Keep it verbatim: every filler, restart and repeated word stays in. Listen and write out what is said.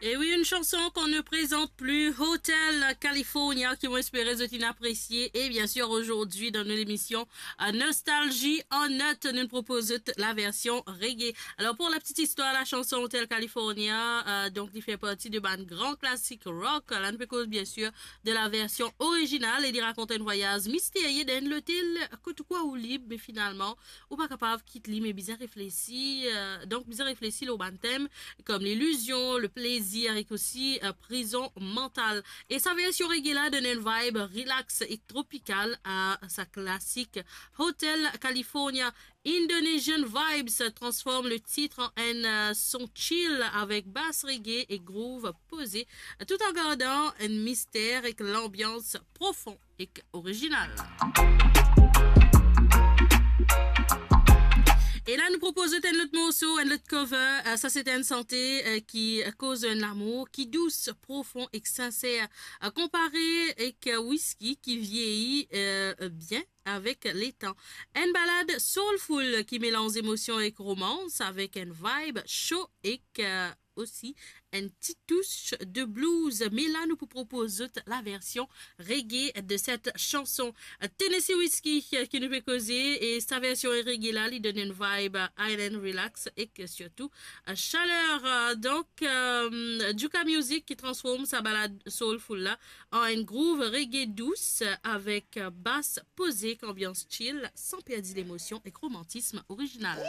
Et oui, une chanson qu'on ne présente plus, Hotel California, ki mo espere zot inn apresie. Et bien sûr, aujourd'hui, dans notre émission, euh, Nostalgie en Notes, nou propoz zot la version reggae. Alors, pour la petite histoire, la chanson Hotel California, euh, donc, li fer parti de bann gran klasik rock. La, nou pe koz, bien sûr, de la version originale, e li rakont enn vwayaz misterie dan enn lotel kot ou krwar ou lib, me finalman, ou pa kapav kit li, me bizin reflesi, euh, donk bizin reflesi lor bann tem kom lilizion, leplezir ek osi, euh, prizon mantal. E sa version reggae la donn enn vibe relax e tropikal a sa klasik Hotel California. Indonesian Vibes transform le titre en enn, euh, son chill avek bas reggae e groove poze, tout en gardant un mystère avec l'ambiance profond et originale. E la, nou propoz zot enn lot morso, enn lot cover. Euh, sa, se enn sante, euh, ki koz enn lamour ki dous, profon ek sinser, euh, konpare ek whisky ki vieyi, euh, bien avek letan. Enn balad soulful ki melanz emosion ek romans avek enn vibe sho ek, euh, osi enn ti tous de blues. Me la, nou pou propoz zot la version reggae de cette chanson. Tennessee Whiskey, euh, ki nou pe koze, e sa version reggae la, li donn enn vibe island relax ek sirtou, euh, chaler. Euh, donk, euh, Juka Music ki transform sa balad soulful la an enn groove reggae dous, euh, avek, euh, bas poze ek anbians chill, san perdi lemosion ek romantism original.